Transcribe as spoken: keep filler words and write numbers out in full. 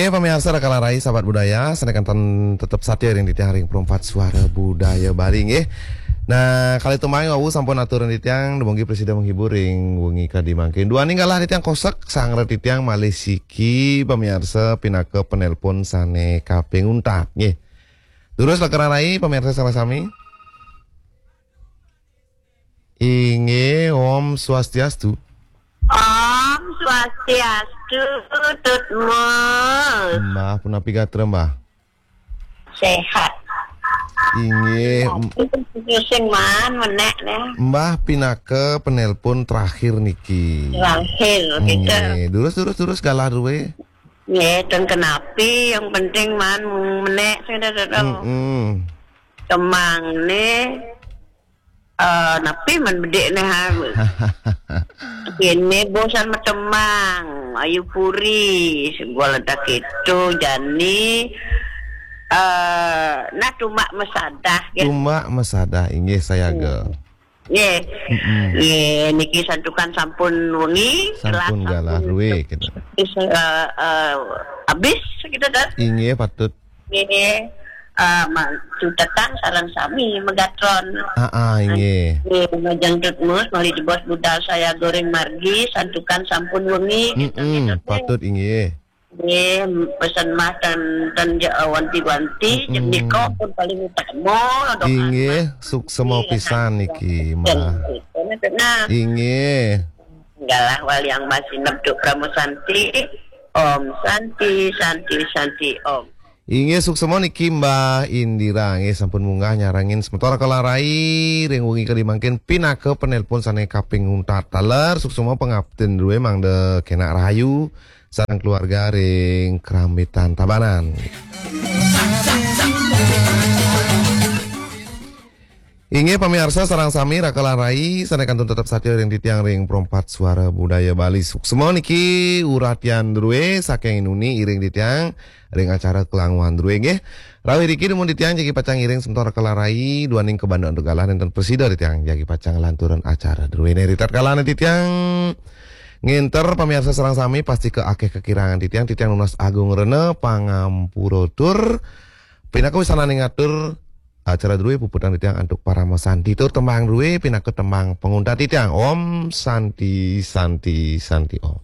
Eh, pamiarsa Raka lan Rai, sahabat budaya, sané kanten tetep satia ring titiang ring Perempat Suara Budaya Bali nggih. Nah, kalih tembang wau sampun aturang titiang, dumogi prasida menghibur ring wengi kadi mangkin. Duaning galah titiang kosek, sanggra titiang malih siki pamiarsa pinaka penelpon sané kaping untat nggih. Durus Raka lan Rai, pamiarsa sareng sami. Inggih, Om Swastiastu. Om Swastiastu, Tut Mus. Mbah, punapi gatra, Mbah? Sehat. Inggih, m- Sing man menék nih. Mbah pinaka penelpon terakhir niki. Terakhir, gitu. Inggih, durus, durus, durus, galah drué. Nggih, ten kenapi, yang penting man menék sing ada. Mm-mm. Tembang nih, eh, napi man bedik nih, ha? Ini bosan matembang, Ayu Puri, sebuah ledak itu, jani, eh, nah, tumbak masadah, ya. Tumbak masadah, inggih, sayaga. Hmm. Nggih. Mm-mm. Nggih, niki santukan sampun wengi, sampun galah, galah ruwé, gitu. Is, eh, eh, abis, gitu, Dot. Inggih, patut. Nggih. Eh, ma-, cutetan sareng sami megatron. Ah, ah, inggih. Nggih, majeng Tut Mus, malih jebos budal sayaga ring margi, santukan sampun wengi, gitu, mm-mm, gitu, patut, inggih. Nggih, pesen Mbah ten, ten ja-, wanti-wanti, mm-mm, nika pun paling utama, doa. Inggih, Mbah. Suksema pisan niki, Mbah. Nah. Inggih. Galah waliang masineb Duk Prama Santi. Om Santi, Santi, Santi, Om. Inggih, suksema niki Mbah Indira, nggih, sampun munggah nyarengin semeton Raka lan Rai ring wengi kadi mangkin pinaka penelpon sané kaping untat taler. Suksema pangaptin druwé mangda kénak rahayu sareng keluarga ring Krambitan Tabanan. Inggih pamiarsa sareng sami Raka lan Rai sané kantun tetep satia ring titiang ring Perempat Suara Budaya Bali. Suksema niki uratian druwé saking inuni iring titiang ring acara Kelanguan druwé nggih. Rawuh riki dumun titiang jagi pacang ngiring semeton Raka lan Rai duaning kabanda antuk galah nénten prasida titiang jagi pacang nglanturang acara druwé. Né ritatkalané titiang ngénter pamiarsa sareng sami pastika akéh kakirangan titiang, titiang nunas agung rena pangampura tur pinaka wasananing atur acara druwé puputang titiang antuk parama santi tur tembang druwé pinaka tembang panguntat titiang. Om Santi, Santi, Santi Om.